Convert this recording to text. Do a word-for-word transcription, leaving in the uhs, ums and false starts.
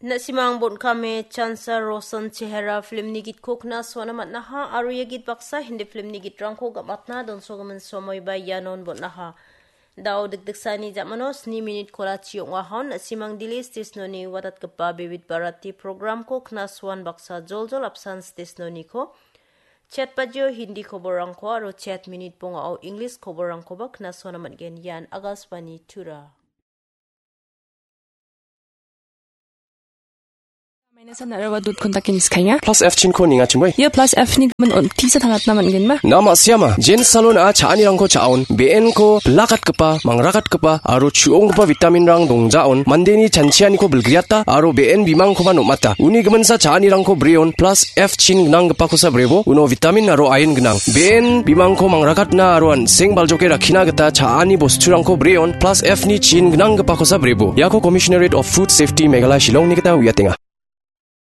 Na·simang bon·kame Chansa Rosan Chehera filmni gitko knasuana man·aha aro ia git baksa Hindi filmni gitrangko gam·atna donsogimin somoiba ianon bon·aha. Dao dikdiksani ja·mano sni minit kolachi ong·ahon na·simang Delhi station-oni watatgipa Vividh Bharati program-ko knasuan baksa joljol apsan station-oniko chat bajio Hindi koborrangko aro chat minit bongao English koborrangkoba knasuana man·gen. Ian Akashvani Tura. Minus-an araba dot kontake niskaenga. Plus F chinko nengachimoi. Ia plus F ni gimin on tisa tangatna man·genba? Na ma·siama, Jen Salon-a cha·anirangko cha·aon, be·enko bilakatgipa, mangrakatgipa, aro chu·onggipa vitaminrang dongjaon, mandeni chanchianiko bilgriata, aro be·en bimangkoba nom·ata. Uni giminsa cha·anirangko breon, plus F chin gnanggipakosa brebo, uno vitamin aro iron gnang. Be·en bimangko mangrakatna aro an·seng baljoke rakkina gita cha·ani bosturangko breon, plus F ni chin gnanggipakosa brebo. Iako Commissionerate of Food Safety Meghalaya Shillongni gita uiatenga.